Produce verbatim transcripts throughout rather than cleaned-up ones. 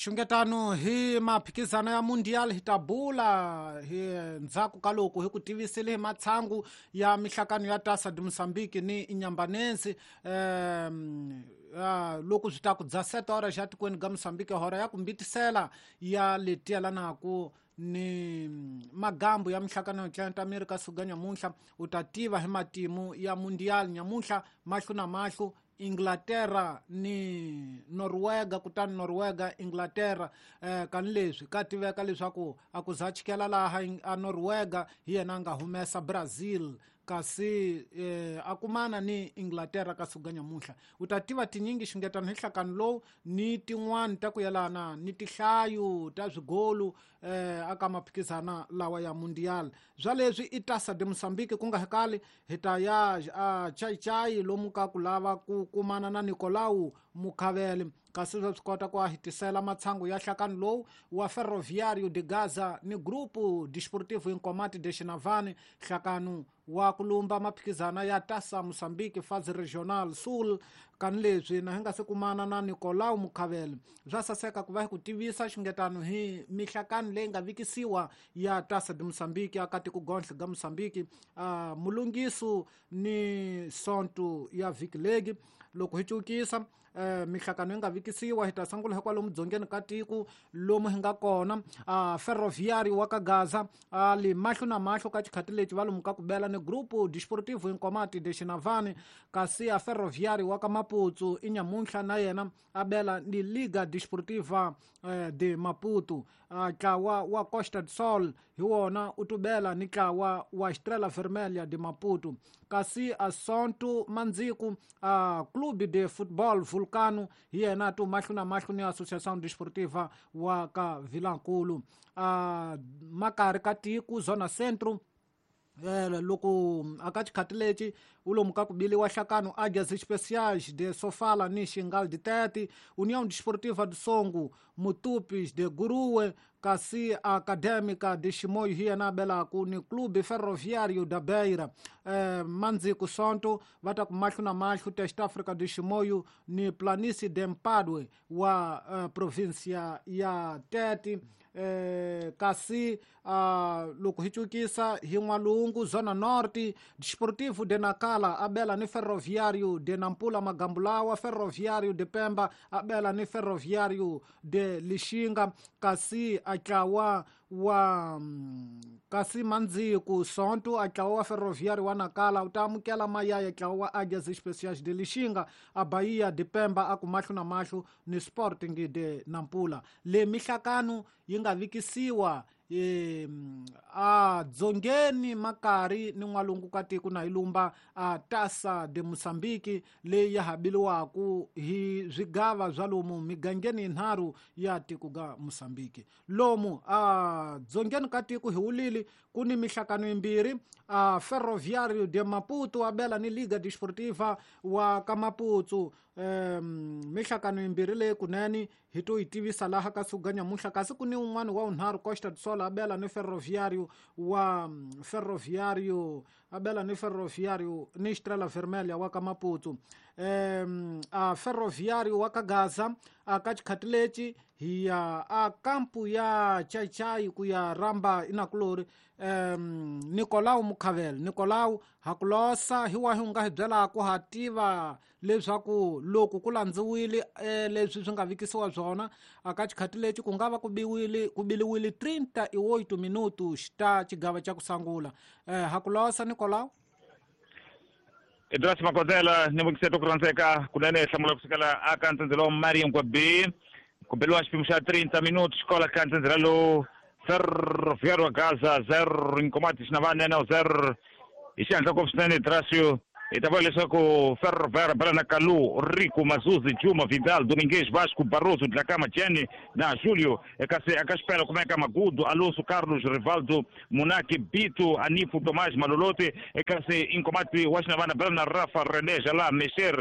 Xungetano hi maphikizano ya Mundial hi ta bula hi ndzhaku ka loko hi ku tivisile hi matshangu ya mihlakano ya Taça de Moçambique ni Inhambane um loko swi ta ku dza sete horas ya tikweni ga Moçambique hora ya ku mbitisela ya letielanaku ni magambo ya mihlakano ya Atlanta America suga nyamuntlha u ta tiva hi matimu ya Mundial nyamuntlha mahlo na mahlo Inglaterra ni Norwega kutani Norwega Inglaterra eh kan leswi ka tiveka leswaku a ku za chikela laha a Norwega hi yena nga humesa Brazil kasi eh, a kumana ni Inglaterra ka suga nyamuntlha u ta tiva tinyingi xingetano hi nhlakano lowu ni tin'wani ta ku yelana ni tihlayo ta swigolu eh, aka maphikizana lawa ya Mundial bya leswi i Taça de Moçambique ku nga hekali hi ta ya a Chaichai lomu ka ku lava ku kumana na Nicolau Mukhavele kasi swa swi kota ku a hitisela matshangu ya nhlakano lowu wa Ferroviário de Gaza ni Grupo Desportivo Incomáti de Xinavane nhlakano wa ku lumba maphikizana ya Taça Moçambique Fase Regional Sul kan leswi na hi nga se kumana na Nicolau Mukhavele bya saseka ku va hi ku tivisa xingetano hi mihlakano leyi nga vikisiwa ya Taça de Moçambique aka tiko gonhle ga Moçambique uh, mulungiso ni sonto ya vhiki legi loko hi cukisa eh mihlakano yi nga vikisiwa hi ta sungula hikwalomu dzongeni ka tiko lomu hi nga kona a Ferroviário wa ka Gaza a li mahlo na mahlo ka xikhati lexi va lomu ka ku bela ni Grupo Desportivo Incomáti de Xinavane kasi a Ferroviário wa ka Maputo i nyamuntlha na yena a bela ni Liga Desportiva eh, de Maputo a ntlawa wa Costa do Sol hi wona u tubela ni ntlawa wa Estrela Vermelha de Maputo kasi a Sonto Mandziku a Clube de Futebol Vulcano hi yena tu mahlo na mahlo ni Associação Desportiva wa ka Vilankulu a makari ka tiko Zona Centro eh loko aka xikhati lexi u lomu ka ku biliwa nhlakano Águias Especiais de Sofala ni Xingal de Tete União Desportiva do Songo Mutupis de Guruwe kasi Acadêmica de Chimoio hi yena abelaku ni Clube Ferroviário da Beira eh, Mandziku Sonto va ta ku mahlo na mahlo Test Africa de Chimoio ni Planície de Mpadue wa eh, província ya Tete eh, kasi uh, loko hi cukisa hi n'walungu Zona Norte Desportivo de Nacala abela ni Ferroviário de Nampula Magambulawa Ferroviário de Pemba abela ni Ferroviário de Lixinga kasi atlawa wa kasi Mandziku Sonto atlawa wa Ferroviário wa Nacala u ta amukela mayaya atlawa wa Águias Especiais de Lixinga a Bahia de Pemba a ku mahlo na mahlo ni Sporting de Nampula le mihlakano yi nga vikisiwa e a dzongeni makari ni n'walungu ka tiko na ilumba a Taça de Moçambique leyi ya habiliwaku hi swigava swa lomu migangeni yinharhu ya tiko ga Moçambique lomu a dzongeni ka tiko hi wulili ku ni mihlakano yimbirhi a Ferroviário de Maputo abela ni Liga Desportiva wa ka Maputo um mihlakano yimbirhi leyi kunene hi to yi tivisa laha ka suga nyamuntlha kasi ku ni un'wana wa unharhu Costa do Sol abela ni Ferroviário wa Ferroviário abela ni Ferroviário ni Estrela Vermelha wa ka Maputo um a Ferroviário wa ka Gaza a ka xikhati lexi hi ya a kampu ya Chaichai ku ya ramba inakulori um Nicolau Mukhavele Nicolau hakulosa hi wahi u nga hi byelaka ha tiva leswaku loko ku landziwile eh, leswi swi nga vikisiwa swona aka xikhati lexi ku nga va ku biwile ku biliwile trinta e oito minutos ta xigava xa ku sungula eh, hakulosa Nicolau Idras Makozela ni vukiseta ku rhandzeka kunene hlamula kusukela aka ntsendzelo wa Marian B ku beliwa xipimo xa trinta minutos xikola ka ntsendzela lowu Ferroviário Gaza zero Incomáti Xinavane na zero hi xihatla ngopfu swinene Drasio hi ta vula leswaku Ferroviário bela na Kalu Rico Mazuzi Juma Vidal Domingues Vasco Barroso Dlakama Jenny na Julio kasi aka xipela kumeka Magudu Alonso Carlos Rivaldo Munaki Bito Anifo Tomás Malolote kasi Incomáti wa Xinavane bela na Rafa René Jala Mesher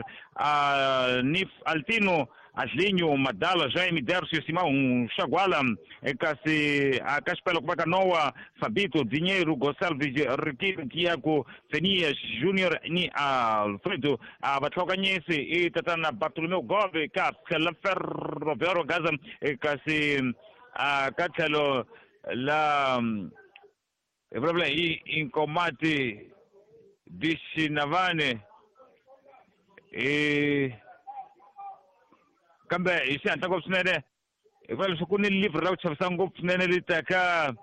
Nif Altino Aslinho, Madala, Jaime, Dércio, Simão, Chaguala, kasi a Caspelo, Kubaka Noa, Fabito, Dinheiro, Gonçalves, Riquiro, Tiago, Fenias, Júnior ni Alfredo, a Batloganyesi i tatana Bartolomeu Gove ka tlhela Ferroviário Gaza kasi a ka tlhelo la hi vulavula hi Inkomati Dixinavane i kambe hi xihatla ngopfu swinene hi vula leswaku ku ni livhi ra ku chavisa ngopfu swinene ri taka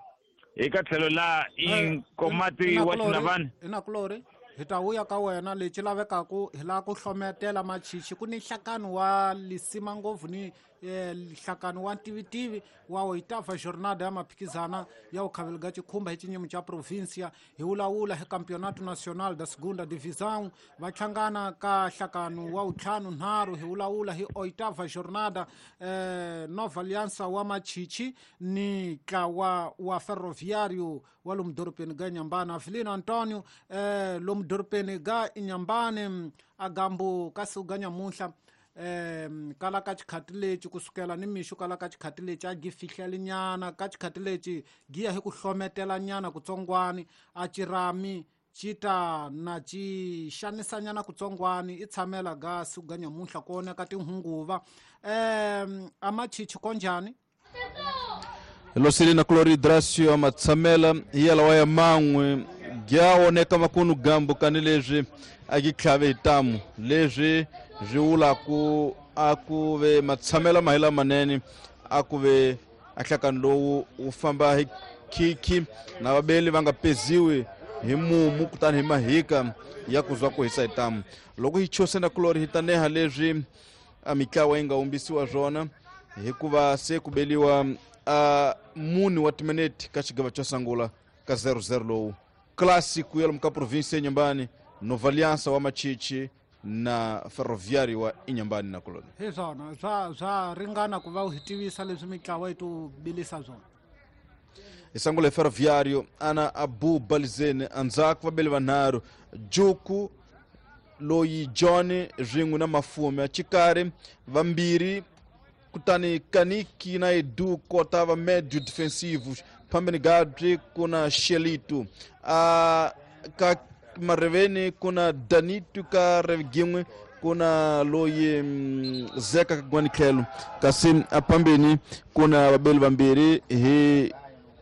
eka tlhelo la Inkomati wa Xinavane. Inakulori hi ta vuya ka wena lexi lavekaku hi lava ku hlometela machichi ku ni nhlakano wa lisima ngopfu ni nhlakano wa ntivitivi wa oitava jornada ya maphikizana ya ukhavelo ga chikhumba hi xinyimo xa provincia hi wulawula hi campeonato nacional da segunda divisão va hlangana ka nhlakano wa ntlhanu nharhu hi wulawula hi oitava jornada eh, Nova Aliança wa machichi ni ntlawa wa Ferroviário wa lomu dorobeni ga Inhambane. Avelino Antonio eh, lomu dorobeni ga Inhambane agambu ka siku ga nyamuntlha um kala ka xikhati lexi kusukela ni mixo kala ka xikhati lexi a gi fihlelinyana ka xikhati lexi gi ya hi ku hlometelanyana kutsongwani a cirami xi ta na xi xanisanyana kutsongwani i tshamela ga siku ga nyamuntlha ku oneka tinhunguva um a machichi konjhani. Losilina Cloridracio amatshamela hi yalawa ya man'we gya oneka makunu gambo kani leswi a gi tlhave hi tamu leswi swi vulaku a ku ve matshamela ma hi lamanene a ku ve a nhlakano lowu wu famba hi khikhi na vabeli va nga peziwi hi mumu kutani hi mahika ya ku zwa ku hisa hi tamu. Loko hi chosena kulori hi ta neha leswi a mitlawa yi nga humbisiwa swona hikuva se ku beliwa a mune wa timinete ka xigava xo sungula ka zero zero lowu clássico ya lomu ka província ya Inhambane, Nova Aliança wa Machichi na Ferroviário wa Inhambane na Colônia. Hi swona swa swa ringana ku va u hi tivisa leswi mitlawa yi to bilisa swona. Hi sungula hi Ferroviário ana Abu Balizene andzhaku vabeli vanharhu Juku loyi John rin'we na Mafume xikarhi vambirhi kutani Kaniki na Edu kota va médio defensivos phambeni Gadri kuna Shelito a ka mareveni kuna Danito ka Reginwe kuna loyi Zeka ka Gwanikhelo kasi aphambeni kuna vabeli vambirhi hi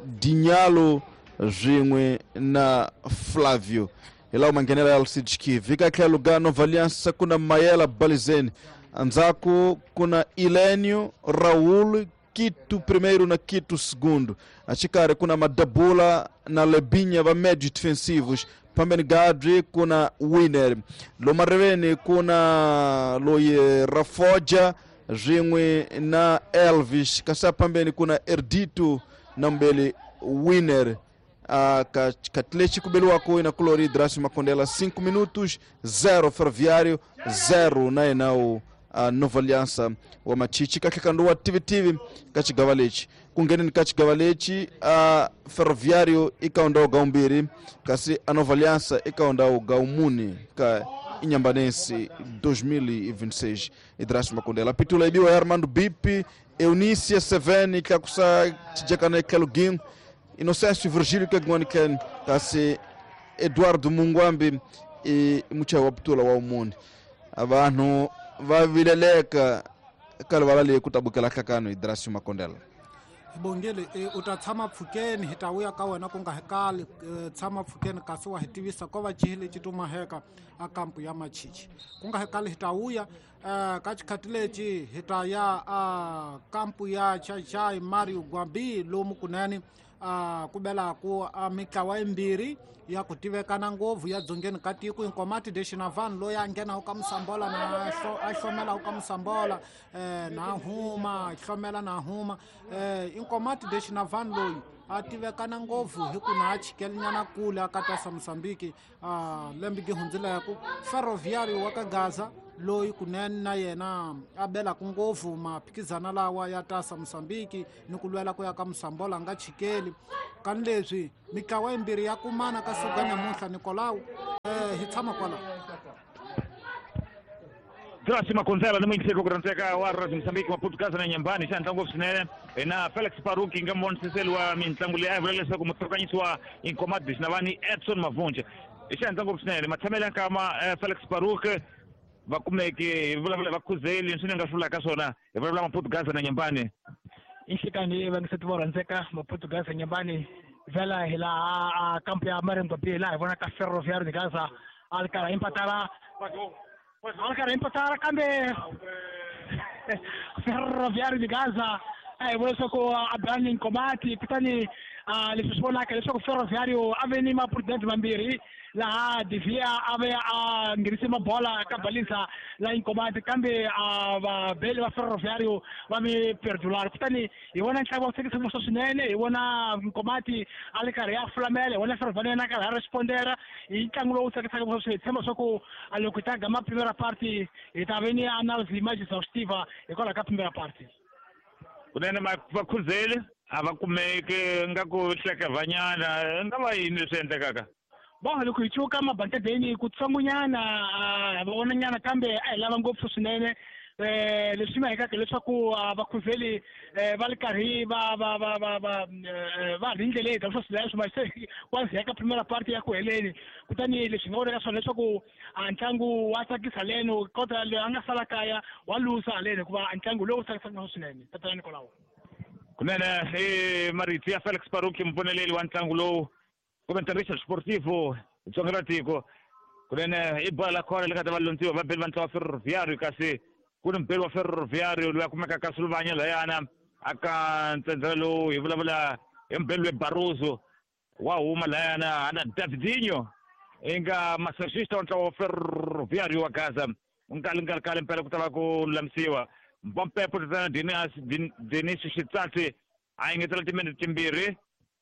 Dinyalo rin'we na Flavio hi lawa manghenela ya Alcides Kivi. Ka tlhelo ga Nova Aliança kuna Mayela Balizene andzhaku kuna Ilênio Raul Quito primeiro na Quito segundo axikarhi kuna Madabula na Lebinha va médios defensivos phambeni Gadri kuna Winner lomareveni kuna loyi Rafoja rin'we na Elvis kasi phambeni kuna Erdito na mbeli Winner. Uh, Katleti kubeliwako ina Colori Dracio Makondela cinco minutos zero Ferroviário zero na enau uh, Nova Aliança wa Machichi katlekando wa T V T V ka xigava lexi ku ngheneni ka xigava lexi uh, Ferroviário i ka hundza ga umbirhi kasi a Nova Aliança i ka hundza ga umune ka Inhambanense dois mil e vinte e seis. Dracio Makondela pitula ibiwa Armando Bipi Eunice Seveni tlakusa xijakana tlhelo Inocêncio Virgílio Kagwaniken kasi Eduardo Mungwambi e muchayi wa putula wa umuni abantu va vileleka ka rivala leyi ku tabukela nhlakano hi Dracio Makondela. Bongele u ta tshama pfukeni hi ta vuya ka wena ku nga hi kali tshama pfukeni kasi wa hi tivisa ko va cihi lexi tumaheka a kampu ya Machichi ku nga hi kali hi ta vuya ka xikhati lexi hi ta ya a kampu ya Chachai Mario Gwambi lomu kunene a ku belaku a mitlawa yimbirhi ya ku tivekana ngopfu ya dzongeni ka tiko Inkomati de Xinavane loyi a nghenaku ka Musambola na a hlomelaku ka Musambola um na huma hlomela na huma um Inkomati de Xinavane loyi a tivekana ngopfu hi ku na a chikelinyana kule a katasa Mozambique a lembe gi hundzileku Ferroviário wa ka Gaza loyi kunene na yena a belaku ngopfu maphikizana lawa ya tasa Mozambique ni ku lwela ku ya ka Musambola a nga chikeli kani leswi mitlawa yimbirhi ya kumana ka siku ga nyamuntlha Nicolau eh hi tshama kwala. Graça Makonzela ni muyingiseri ku rhandzeka wa Radio Mozambique Maputo Gaza na Nyambani xa ntlangu swinene na Felix Paruki nga muvonisiseli wa mitlangu leyi a vula leswaku mutsakanyisi wa Inkomadis na vani Edson Mavunja xa ntlangu swinene matshamelo ya nkama Felix Paruki va kumeke hi vulavula va khuzeli leswi ni nga swi vulaka swona hi vulavula Maputo Gaza na Nyambani. Inhlekani vangiseti vo rhandzeka Maputo Gaza Nyambani vhela hi laha kampu ya Marengo B laha hi vonaka Ferroviário de Gaza a ri karhi empatara a ri karhi empatara kambe Ferroviário de Gaza a hi vona leswaku a bani Nkomati kutani leswi swi vonaka leswaku Ferroviário a ve ni maprudente mambirhi laha Devia a ve a nghenise mabola ka balisa la Nkomati kambe a vabeli va Ferroviário va mi perdular kutani hi vona ntlangu wa tsakisa ngopfu swinene hi vona Nkomati a ri karhi a fulamela hi vona Ferroviário na karhi a respondera hi ntlangu lowu tsakisaka ngopfu swinene hi tshemba leswaku loko hi ta gama primera parte hi ta ve ni analyse mais exhaustiva hikwalaho ka primera parte. Kunene vakhuzeli a va kumeki nga ku hlekevanyana nga va yini leswi endlekaka? Bon loko hi cuka mabantedeni kutsongonyana va vonanyana kambe a hi lava ngopfu swinene eh leswi mahekaka leswaku vakhuzeli va ri karhi va va va va va va ri ndleleni ta swo swi se kwazi ya ka primera parte ya ku heleni kutani leswi nga vonaka swona leswaku ntlangu wa tsakisa leno kota loyi a nga sala kaya wa lusa haleni hikuva ntlangu lowu tsakisaka swinene tatana Nikolao. Kunene i marito ya Felix Paruki mupfuneleli wa ntlangu lowu comentarista sportivo Tsonga ra tiko. Kunene i bola la khona le ka ta va lontsiwa va beli va ntlawa Ferroviário kasi ku ni mubeli wa Ferroviário loyi a kumekaka ka Suluvanya layana aka ntsendzela lowu hi vulavula hi mubeli loyi Barroso wa huma layana ana Davidinho i nga massagista wa ntlawa wa Ferroviário wa Gaza nkali nkali kale mpela ku ta va ku lulamisiwa Mbompepo tatana Denis Xitsatsi a engetela timinete timbirhi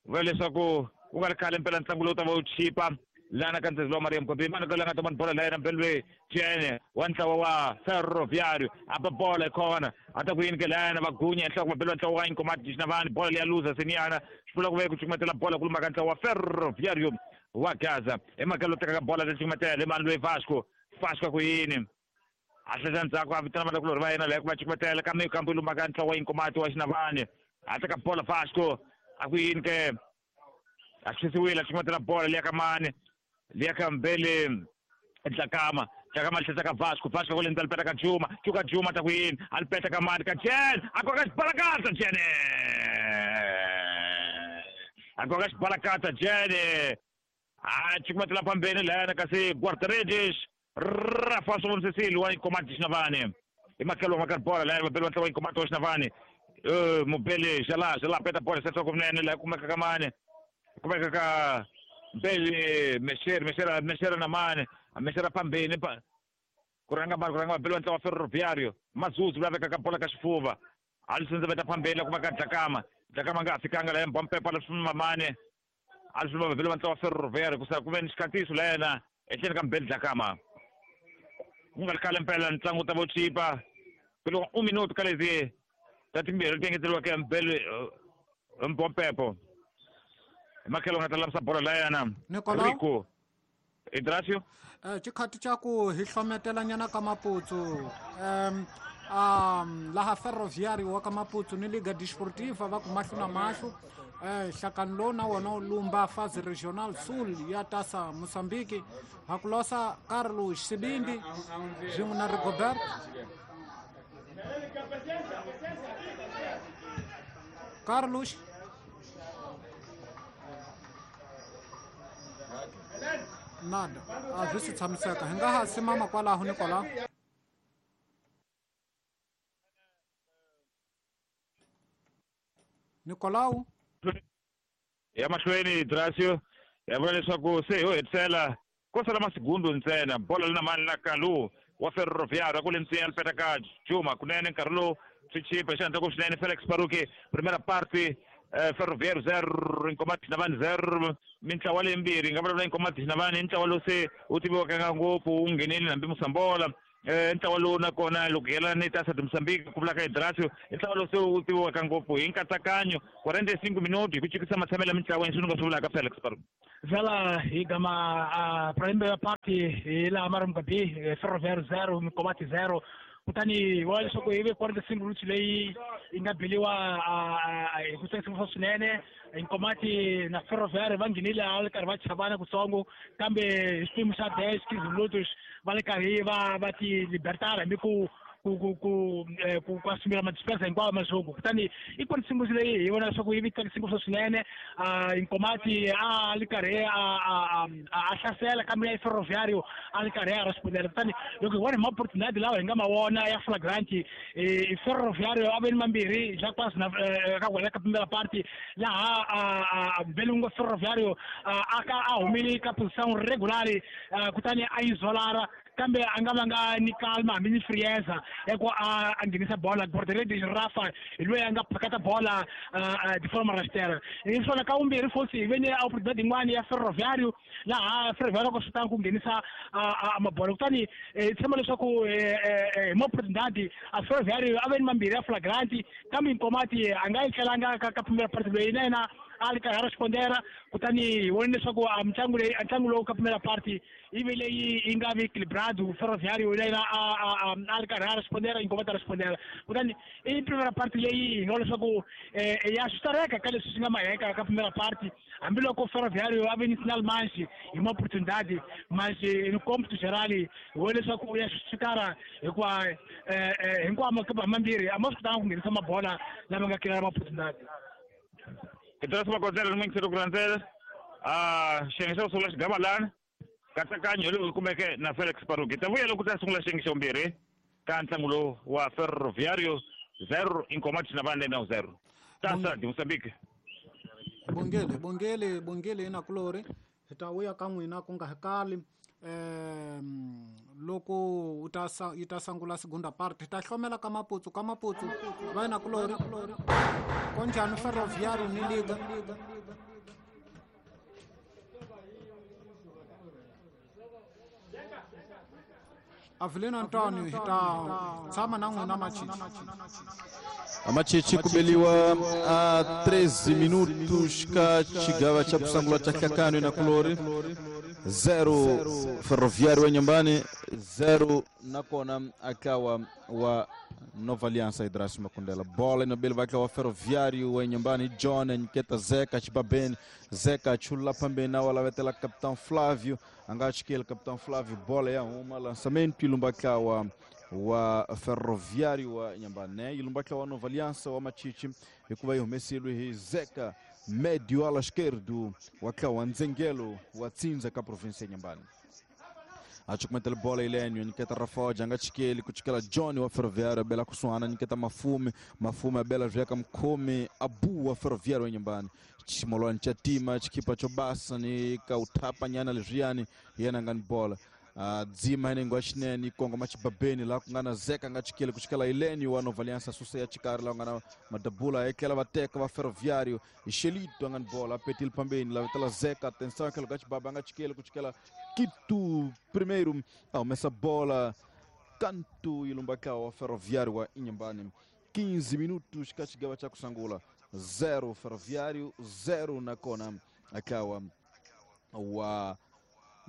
vula leswaku ku nga ri khale mpela ntlangu lowu ta va wu chipa lana ka ndzhendzelo wa Maria Mkombi mani ka la nga ta mani bola la yena mbeli loyi Jene wa ntlawa wa Ferroviário a ba bola hi khona a ta ku yini ke layana va gunya enhloko mabeli wa ntlawa wa Inkomati Xinavani bola leya luza seniyana swi vula ku ve ku cukumetela bola ku luma ka ntlawa wa Ferroviário wa Gaza emhaka lowu tekaka bola ta cukumetela mani loyi Vasco Vasco ku yini a hlehla ndzhaku a vitana vanakulorhi va yena laya ku va cukumetela kambe kambe luma ka ntlawa wa Inkomati wa Xinavani a teka bola Vasco a ku yini ke a xisiwile a cukumetela bola leya ka mani liya ka mbele Dlakama Dlakama tlhela ka Vasco Vasco ku lendza lipeta ka Juma Chuka Juma ta ku yini a lipeta ka mani ka Jen a koka xibalakata Jene a koka xibalakata Jene a cukumetela phambeni layana kasi guarda-redes Rafa Cecil wa Inkomati Xinavani i makhelo wa bola layana vabeli va ntlawa wa Inkomati wa Xinavani mubeli Jala Jala peta bola sesa kunene laha kumeka ka mani kumeka ka Mbele Mesher Mesher Mesher na mane Mesher phambeni pa ku rhanga mani ku rhanga mabeli wa ntlawa wa Ferroviário Mazuzu la vekaka bola ka xifuva a li sindza veta phambeni la kuma ka Dlakama Dlakama nga ha fikanga la Mbompepo la swima mane a li swima mabeli wa ntlawa wa Ferroviário kusa ku ve ni xikhatiso la yena etlhelo ka Mbele Dlakama ku nga ri khale mpela ntlangu wu ta va wu chipa ku loko un minuto ka leti ta timbirhi ti engeteriweke Mbele Mbompepo makhelo nga ta lamisa bola la yena Rico Idracio eh xikhati xa ku hi hlometelanyana ka Maputo um um laha Ferroviário wa ka Maputo ni Liga Desportiva va ku mahlo na mahlo eh nhlakano lowu na wona wu lumba Fase Regional Sul ya Taça Moçambique ha ku losa Carlos Sibindi swin'we na Rigobert Carlos nada a swi si tshamiseka hi nga ha simama kwalaho Nicolau Nicolau ya mahlweni Dracio ya vula leswaku se ho hetisela ko sala masigundu ntsena bola lina mani na Kalu wa Ferroviário ku le ntsena lipeta ka Juma kunene nkarhi lowu swi chipa xi ku swinene Felix Paruki primera parte Ferroviário zero Inkomati Xinavani zero mintlawa leyimbirhi nga vulavula Inkomati Xinavani i ntlawa lowu se wu tiviwaka ngopfu wu nghenile hambi Musambola Ntlawa lowu nakona loko yelana ni Taça de Moçambique ku vulaka Idrasio i ntlawa lowu se wu tiviwaka ngopfu hi nkatsakanyo quarenta e cinco minutos hi ku chikisa matshamelo ya mintlawa leswi ni nga swi vulaka Felix Paru Vela hi gama a primeira parte hi laha Marimba B Ferroviário zero Nkomati zero kutani wa leswaku hi ve quarenta e cinco minutos leyi yi nga beliwa hi ku tsakisa swinene Nkomati na Ferroviário va nghenile a le karhi va chavana kutsongo kambe hi xipimo xa dez quinze minutos va le karhi va va ti libertara hambi ku ku ku ku ku ku assumira ma despesa hinkwawo majogo kutani i quarenta e cinco leyi hi vona leswaku yi vi tsakise ngopfu swinene Nkomati a li karhi a a a hlasela kambe ya Ferroviário a li karhi a respondela kutani loko hi vona hi ma-oportunidade lawa hi nga ma vona ya flagrant i Ferroviário a ve ni mambirhi Jacques na ka wena ka primera parte laha Belungo Ferroviário a ka a humile ka position regular kutani a isolara kambe a nga vanga ni calma hambi ni frieza ya ku a a nghenisa bola Bordeaux Rafa hi loyi a nga phakata bola de forma rasteira hi swona ka vumbirhi futhi hi ve ni oportunidade yin'wani ya Ferroviário laha Ferroviário ku swi tanga ku nghenisa mabola kutani hi tshemba leswaku hi ma-oportunidade a Ferroviário a ve ni mambirhi ya flagrant kambe Nkomati a nga yi tlelanga ka ka primera parte loyi na yena a li karhi a respondera kutani hi vone leswaku a mitlangu leyi a ntlangu lowu ka primera parte yi ve leyi yi nga vi equilibrado Ferroviário na yena a a a li karhi a respondera Nkomati a respondera kutani i primera parte leyi hi nga leswaku ya switareka ka leswi swi nga maheka ka primera parte hambiloko Ferroviário a ve ni sinal manxi hi ma-oportunidade mas no cômputo geral hi vone leswaku ya switareka hikuva hinkwawo makipa mambirhi a ma swi kotanga ku nghenisa mabola lama nga kela ma-oportunidade. Idrasio Makondzela ni n'wingiseri ku landzela a xiyenge xa ku sungula xigava lani nkatsakanyo lowu kumeke na Felix Paruki ta vuya loko ta sungula xiyenge xa vumbirhi ka ntlangu lowu wa Ferroviário zero Nkomati na vande na zero Taça de Moçambique. Bongele bongele bongele inakulori hi ta vuya ka n'wina ku nga hi kali um loko u ta yi ta sungula segunda parte hi ta hlomela ka Maputsu ka Maputsu va inakulori konjhani Ferroviário ni Liga Avelino Antonio hi ta tshama na n'wina Machichi. Amachichi kubeliwa a treze minutos ka xigava xa ku sungula xa Hlakano na Kulori zero Ferroviário wa Nyambani zero nakona akawa wa Nova Aliança Idrasio Makundela bola inobele vai wa Ferroviário wa Nyambani John Nketa Zeca Chibabeni Zeca chula pambeni na wala vetela Capitão Flávio angachikele Capitão Flávio bola ya uma lançamento ilumba kawa wa Ferroviário wa Nyambani ilumba wa Nova Aliança wa Machichi hikuva yi humesile hi Zeca médio ala esquerdo wa kawa Nzengelo wa Tsinza ka província ya Nyambani achukumetela bola Ilênio Niketa Rafoja angachikeli kuchikela John wa Ferroviário abela kusuhana Niketa Mafume Mafume abela vyeka mkhomi Abu wa Ferroviário wa Nyambani chimolwani cha tima chikipa chobasa ni kauthapa nyana leswiyani yena ngani bola Uh, dzima henengo axinene kongo machibabeni laha ku nga na Zeka nga chikele kuchikela Ilênio wa Nova Aliança susa ya chikari laha ku nga na madabula ekela vateka va Ferroviário Xelito a nga ni bola apetile pambeni la vetela Zeka atenção aquele lugar chibaba nga chikele kuchikela Quito primeiro a humesa bola canto ilumbaka wa Ferroviário wa Inhambane quinze minutos ka xigava xa ku sungula zero Ferroviário zero nakona akawa wa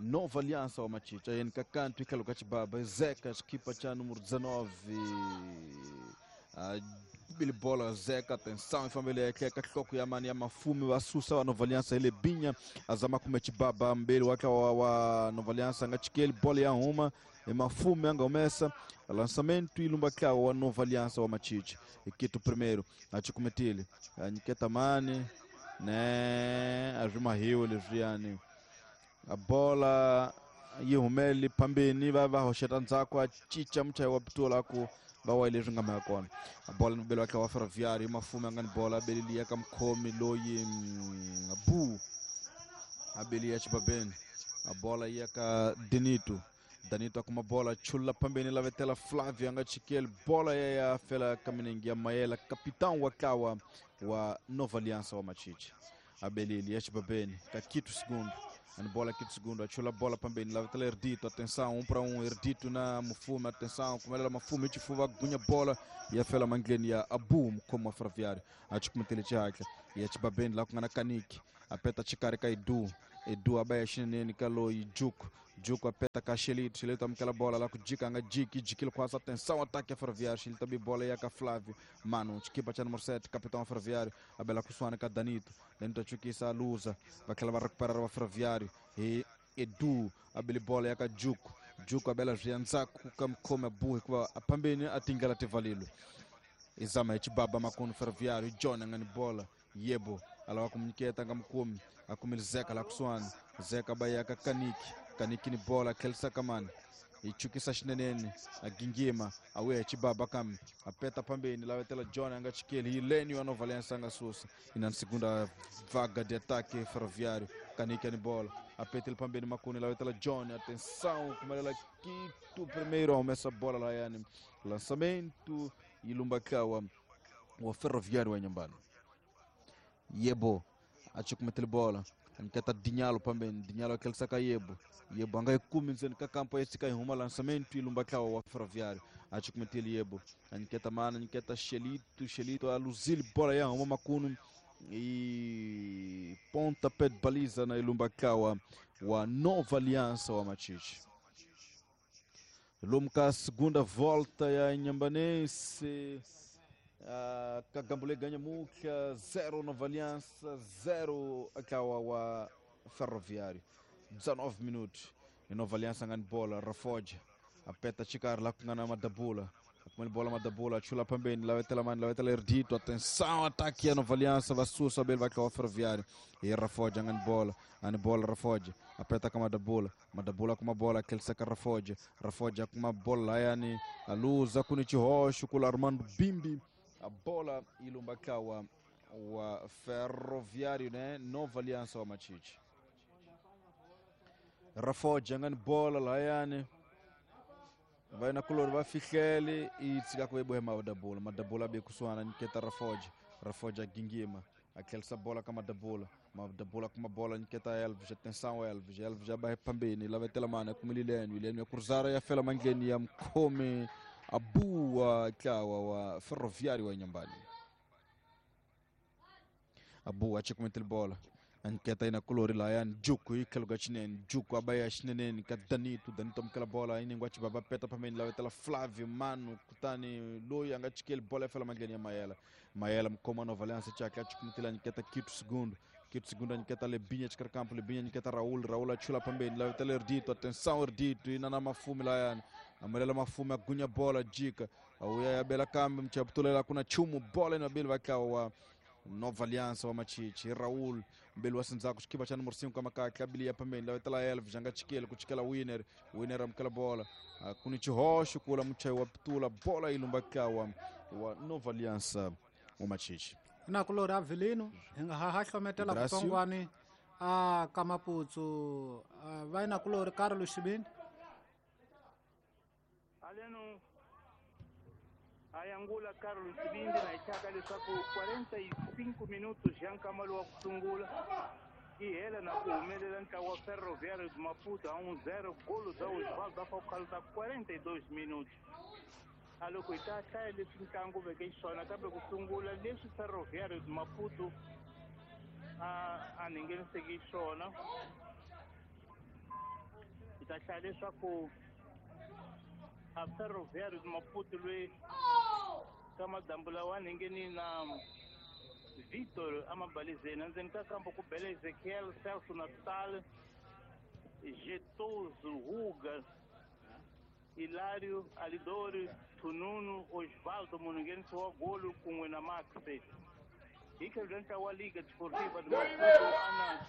Nova Aliança wa Machicha yeni kakantu ikalo kachibaba Zeca equipa cha número dezenove uh, bola Zeca atenção e família que katloko ya mani ya Mafume wa Susa wa Nova Aliança ele binha azama kume chibaba mbele waka wa, wa Nova Aliança ngachikeli bola ya uma e Mafume anga umesa lançamento ilumba ka wa Nova Aliança wa Machicha equipo primeiro achikumetile Niketa mani né azuma hiwo leswiani a bola yi humele pambeni va va hoxeta ndzhaku a cinca muchayi wa pitola ku va wa leswi nga mhaka kona a bola ni belo wa Ferroviário Mafume a nga ni bola a beleliya ka mukhomi loyi bu a beliya xibabeni a bola yi ya ka Denito Danito a kuma bola chula pambeni la vetela Flávio a nga chikeli bola ya ya fela ka minenge ya Mayela capitão wa kawa wa Nova Aliança wa Machichi a beleli ya xibabeni ka Quito segundo Ani bola aqui de segundo, achou a bola também, lá vai Erdito, atenção, um para um, Erdito na Mufume, atenção, como ela Mafume, Tifuva, gunha bola, e a Fela Mangleni, a Boom, como a Ferroviário, a Tikumetele Tchaka, e a Tibabeni lá com a Kaniki, a Peta Chicarika Edu, Edu abaia Chinene, Kalo e Juco, Juco a Peta Cachelito, Xelito aquela bola lá com Dica, Anga Diki, Dikilo quase, atenção, ataque a Ferroviário, Xelito também bola e a Flávio, Mano, Chiquipa Tchano Morsetti, capitão Ferroviário, a Bela Kusuana, Danito, Danito Chuquissa, a Lusa, vai que ela vai recuperar o Ferroviário, e Edu, a Bela bola e a Juco, Juco a Bela Vianzaku, come a burro, a Pambene, a Tingala Tevalilo, Exame, Tibaba, Macono Ferroviário, John, Angani bola, Yebo, ela vai comunicar, Tangamukumi, a comer Zeca, lá Kusuana, Zeca Baiaca, Kaniki, Kaniki ni bola, aquele sacaman, e Chukisa Shinenene, a Gingima, a Ué, Tibaba Kam, a Peta Pambene, lá vai ter John, Angachikele, Hilênio, a Nova Aliança, Angasussa, e na segunda vaga de ataque Ferroviário, Kaniki ni bola, a Peta Pambene, Macune, lá vai ter John, atenção, como ela quito primeiro, homem, essa bola lá, yani, lançamento, e Lumbakawa, o Ferroviário em Nhambano. Yebo, a Chukumetel bola. Anketa Dinhalo também, Dinhalo aquele saca Yebo. Yebo angai kuminzen ka campo esse cai rumo lançamento e Lumbakawa o Ferroviário. A Chukumetel Yebo. Anketa mana, anketa Xelito, Xelito a Luzil bola ya rumo makuno e pontapé de baliza na Lumbakawa wa Nova Aliança wa Machiche. Lumka segunda volta ya Inhambanense. Uh, Kagambule ganha Muca, zero Nova Aliança, zero Akawa wa Ferroviário. dezenove minutos. E Nova Aliança ganha bola, Rafoja. A peta Chicar lá com a Madabula. A bola Madabula, chula também, lá vai ter lá vai ter Erdito. Atenção, ataque a Nova Aliança, vai sussa, bem vai o Ferroviário. E Rafoja ganha bola, ganha bola Rafoja. A peta com a Madabula, Madabula com uma bola, aquele saca Rafoja. Rafoja com uma bola, yani, a luz, a Kunichi Rocha, com o Armando Bimbi. A bola e Lumbakawa, o Ferroviário, né? Nova Aliança, o Machiche. Rafoja, ganha bola, Laiane. Vai na color, vai Fichele e tsika com o Madabula. Madabula bem com sua Niketa Rafoja. Rafoja Gingima. Aquela essa bola com a Madabula. Madabula com uma bola, Niketa Elvis. Atenção, Elvis. Elvis já vai pambini. Lá vai ter a mano com o Lileno. Lileno ia cruzar e a Fela Mangleni ia come. A boa kawa Ferroviário em Nhambane. A boa tinha bola. Anketa ina colori lá yan Juco e Kalugachinen, Juco abaya Shinenen, Kadanito, Danito aquela bola aí ninguém baba peta para mim lá vai Flávio, Mano, Kutani, Loi, Angachikel, bola fala Mangleni Maela. Maela como a Nova Aliança tinha que tinha Anketa quinto segundo. Quinto segundo Anketa Lebinha de campo, Lebinha Anketa Raul, Raul achula também, lá vai Erdito, atenção Erdito, e Nana Mafume lá yan. Amarela Mafume agunha bola, dica. A Uia Bela Câmbio, Mchaptula lá com a Chumo, bola na Bela vai cá Nova Aliança wa Machiche, Raul, Belo Asinzaku, Chiquiba Chano Morcinho, Kamaka, Kabilia também, lá vai lá Elvis, Janga Chiquele, Kuchikela Winner, Winner amkela bola, Kunichi Rocha, Kula Muchai Waptula, bola e Lumbakawa, wa Nova Aliança wa Machiche. Na kulora Avelino, ha hlometela kutsongwane a Kamaputsu, vai na kulora Carlos Chibini. Aleno Ayangula Carlos Chibindi na itaka leswaku quarenta e cinco minutos ya nkama lowu wa ku sungula yi hela na ku humelela ntlawa wa Ferroviário de Maputo a um zero golo za Osvaldo Afocalta quarenta e dois minutos. A loko hi ta hlaya leswi ntlangu veke xiswona kambe ku sungula leswi Ferroviário de Maputo a a ngheniseki xiswona hi ta hlaya leswaku a Ferroviário de Maputo loyi ka madambu lawa ngheni na Vitor amabalizeni endzeni ka kampo ku bele Ezequiel, Celso Natal, Getoso, Ruga, Hilário, Alidori, Tununo, Osvaldo Mununguense, o golo com o Max. E que durante a Liga Desportiva de Maputo, Ana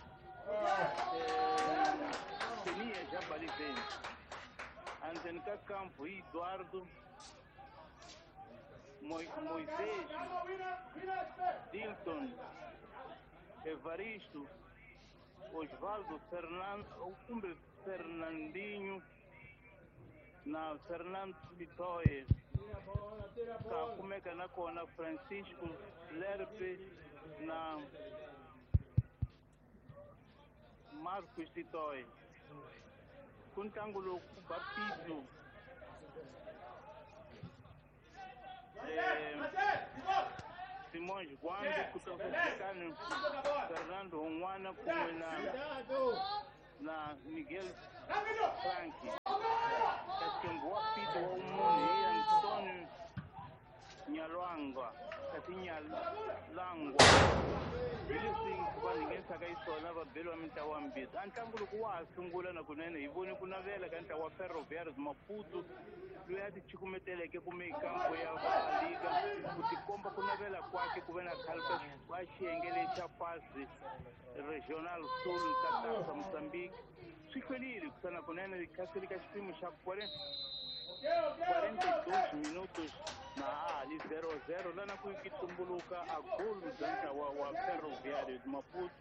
Tenia já balizeni. Endzeni ka kampo Eduardo, Moisés, Dilton, Evaristo, Osvaldo, Fernando, Cumbre Fernandinho, na Fernando Vitória, Kakumeka na Kona, Francisco Lerpe, na Marcos Titoy ku ntlangu lowu ku ba Pito Simões Guambe ku tokani Fernando Honwana kun'we na na Miguel Frank kasi wa Pito wa munhu hi Antonio Nyalwangwa kasi Nyalangwa hi leswi va nghenisaka xiswona va beliwa mintlawa mbirhi. A ntlangu loko wa ha sungula na kunene hi vone ku navela ka ntlawa wa Ferroviário de Maputo loyi a ti chukumeteleke kumbe kampo ya va liga ku tikomba ku navela kwake ku ve na khale ka xiyenge lexa fasi Regional Sul ka Tasa Mozambique swi hlwerile ku sana kunene kasi ka xipimo xa quarenta e dois minutos na ali zero zero lana ku tumbuluka a gol bya ntlawa wa Ferroviário de Maputo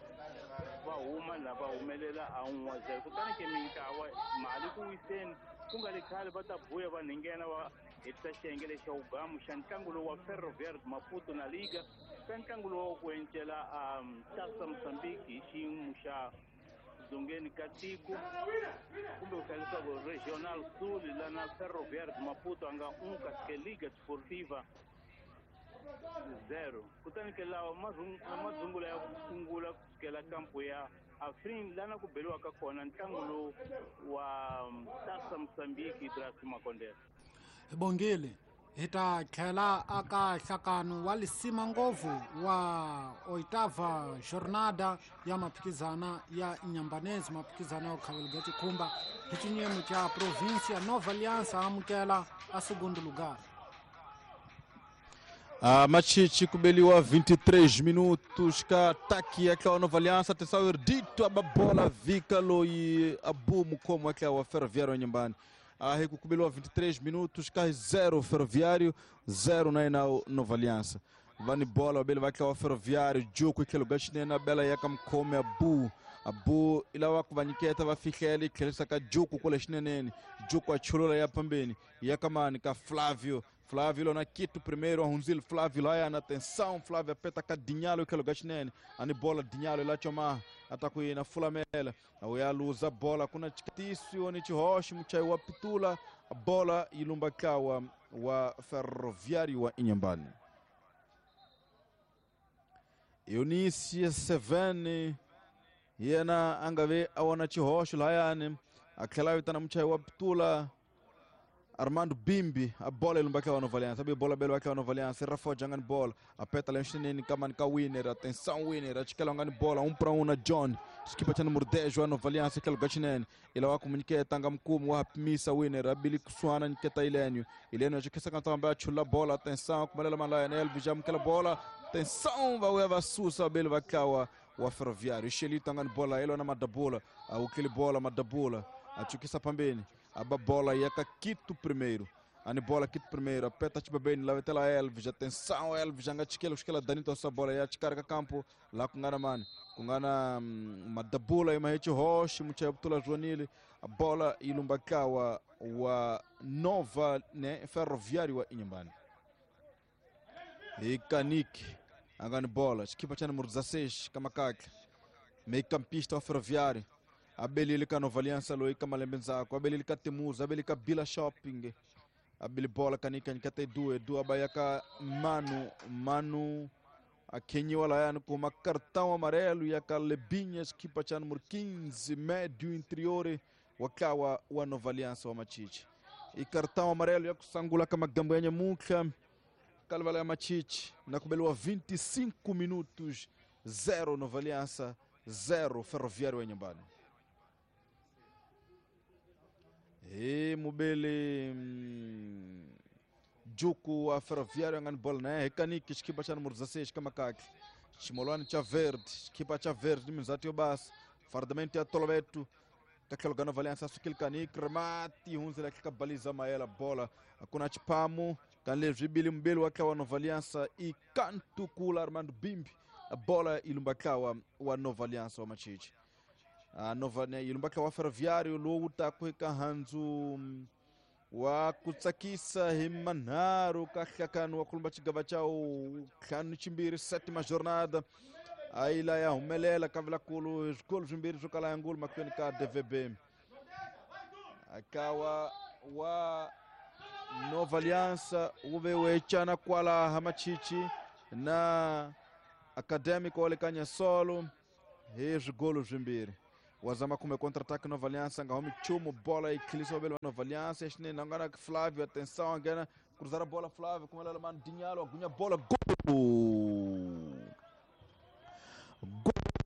va huma lava humelela a un'we zero kutani ke mintlawa mali ku wiseni ku nga le khale va ta buya va nghena va hetisa xiyenge lexa wugamu xa ntlangu lowu wa Ferroviário de Maputo na liga ka ntlangu lowu ku encela um Tasa Mozambique hi xiyimo xa dzongeni ka tiko kumbe ku hlaya leswaku Regional Sul lana Ferroviário de Maputo a nga un kasi ke Liga Desportiva zero kutani ke lawa madzungula ya ku sungula ku sukela kampo ya Afrin lana ku beliwaka kona ntlangu lowu wa Tasa Mozambique Ibrahim Makondela. Hi bongile hi ta tlhela aka nhlakano wa lisima ngopfu wa oitava jornada ya maphikizana ya Inhambane, maphikizana ya khavelga xikhumba hi xinyemo xa província Nova Aliança amukela a segundo lugar. Ah, Machichi kubeliwa vinte e três minutos ka ataque ya Nova Aliança. Atenção, Erdito a bola vika loi abu mukomo wa Ferroviário nyumbani. Ah, kubeliwa vinte e três minutos ka zero Ferroviário, zero na Nova Aliança. Vani bola bele vai wa Ferroviário, jogo que lugar chinena bela yaka mkome abu. Abu ilawa kuvaniketa vafihlele khelisa ka jogo kule chinenene. Jogo acholola ya pambeni. Yaka mani ka Flávio. Flávio lona Quito primeiro, Arrunzil, Flávio lá na atenção, Flávio apeta ka Dinhalo que lugar chinene. Ani bola Dinhalo lá chama ataku na Fulamela. Auya luza bola kuna chikatisu oni chihoshi mchai wa pitula a bola ilumba kawa wa Ferroviário wa Inhambane. Eunice Sevene yena angave awana chihoshi layane akhela vitana mchai wa pitula Armando Bimbi, a bola ilumba wa Nova Aliança, a bola belo wa Nova Aliança, Rafael Jangan bola, apeta lá chinene kaman ka winner, atenção winner, achikela ngani bola, um para um na John, equipa cha número dez wa Nova Aliança que lugar chinene, ele wa comunique tanga mkumu wa misa winner, abili kusuana nketa Ilênio, Ilênio achikesa kanta mba chula bola, atenção kumalela malaya Elvis jam kela bola, atenção va wa susa belo vakawa wa Ferroviário, Xelito ngani bola, ele na madabula, o bola madabula, achukisa pambeni. A bola yaka Quito primeiro. Ani bola Quito primeiro. Apeta tibabeni lá vetela Elvis. Atenção Elvis. Anga chikela ushkela Danito essa bola ya chikarga campo lá com ngana mani. Com ngana madabula e mahechi roche mucha butula Joanile. A bola ilumbakawa wa Nova né Ferroviário wa Inhambane. E Kanik angani bola. Equipa cha número dezesseis Kamakaka. Meio campista wa Ferroviário. Abelili ka Nova Aliança loi ka Malembenzako, abelili ka Temuza, abelili ka Bila Shopping, abeli bola kanika nikata edu, edu abayaka Manu, Manu akenyiwa layano com uma cartão amarelo e a Lebinhas, equipa cha número quinze, médio interior, wakawa wa Nova Aliança wa Machichi. E cartão amarelo ya kusangula kama gambo muka, kalvala ya Machichi, na kubeliwa vinte e cinco minutos, zero Nova Aliança, zero Ferroviário Inhambane. E mubele juku a Ferroviário ngani bola né rekaniki equipa cha número dezesseis kamakaki chimolwani cha verde equipa cha verde mizati yobas fardamento ya tolobeto kakelo gana Aliança sukil kanik remati hunzela kikabaliza maela bola akuna chipamu kanle vibili mbele wakawa Nova Aliança e kantu kula Armando Bimbi a bola ilumbakawa wa Nova Aliança wa Machichi. A Nova né ilumbaka wa Ferroviário luta kuika hanzu wa kutsakisa himanharu kahlakanu wa kulumba chigava chao kanu chimbiri sétima jornada A yi la ya humelela kavelakulu swikolo swimbirhi swo kala ya ngulu mahlweni ka D V B. Akawa wa Nova Aliança wu ve wecana kwala Hamachichi na Acadêmico wa le ka Nyasolo hi swigolo swimbirhi. Wazama kumbe contra-ataque Nova Aliança nga humi nchumu, bola yi khilisiwa vele wa Nova Aliança exinene a nga na Flávio, atenção, a nghena cruzar a bola Flávio, kumelela mano Dinhalo, agunya bola, gol!